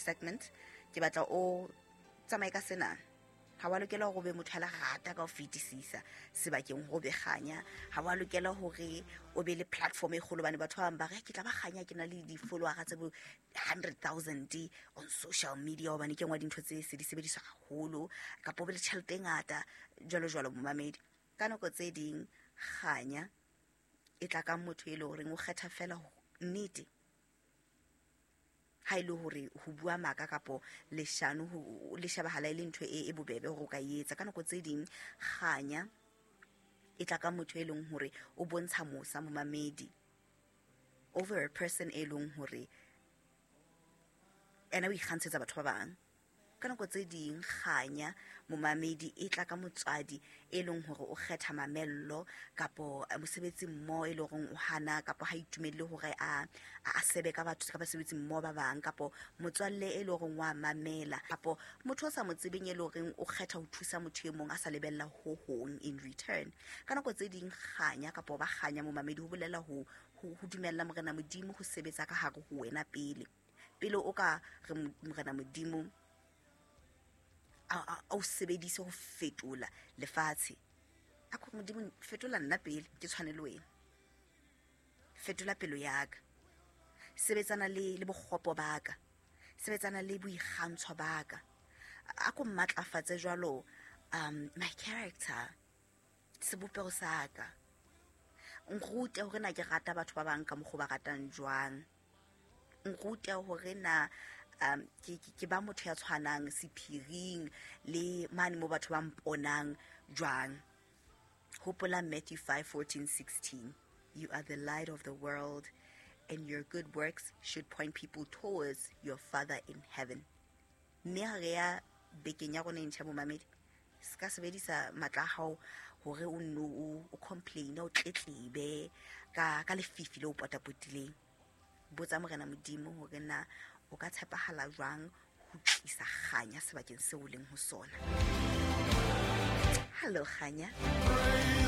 segment, ke batla o tsamaye ka sena. Ha wa lokela hore o be motho ya lerata ka ho fetisisa sebakeng ho be kganya. Ha wa lokela hore o be le platform e kgolo, hobane batho ba bang ba re ke tla ba kganya, ke na le di-followera tse bo 100,000 on social media, hobane ke nngwe ya dintho tse se di sebediswa haholo, kapa o be le tjhelete e ngata jwalo jwalo. Momamedi, ka nako tse ding kganya e tla ka motho e leng horeng o kgetha fela nnete. Ha e le hore ho bua maka kapo leshano le shebahala e le ntho e bobebe hore o ka e etsa. Ka nako tse ding kganya e tla ka motho e leng hore o bontsha mosa momamedi over a person e leng hore ena o ikgantshetsa batho ba bang. Ka nako tse ding kganya momamedi e tla ka motswadi e leng hore o kgetha mamello kapo mosebetsi mmoho e leng hore o hana kapo ha itumelle hore a sebe ka batho, ka basebetsi mmoho ba bang, kapo motswalle e leng hore wa mamela, kapo motho o sa mo tsebeng e leng hore o kgetha ho thusa motho e mong a sa lebella ho hong in return. Ka nako tse ding kganya kapo ba kganya momamedi ho bolela ho dumella Morena Modimo ho sebetsa ka hare ho wena pele. Pele o ka re Morena Modimo a o sebedise ho fetola lefatshe. A ko Modimo fetola nna pele ke tshwane le wena. Fetola pelo ya ka. Sebetsana le bokgopo ba ka. Sebetsana le boikgantsho ba ka. A ko matlafatse jwalo my character, sebopeho sa ka. Nrute hore na ke rata batho ba bang ka mokgwa ba ratang jwang. Nrute hore na ke ba motho ya tshwanang sephiring le mane mo batho ba mponang jwang. Hopola Matthew 5:14-16. You are the light of the world, and your good works should point people towards your Father in heaven. Mme ha re ya bekeng ya rona e ntjha momamedi, se ka sebedisa matla a hao hore o nno o complain, o tletlebe ka lefifi le o potapotileng. Botsa Morena Modimo hore na o ka tshepahala jwang ho tlisa kganya sebakeng seo o leng ho sona. Hello kganya.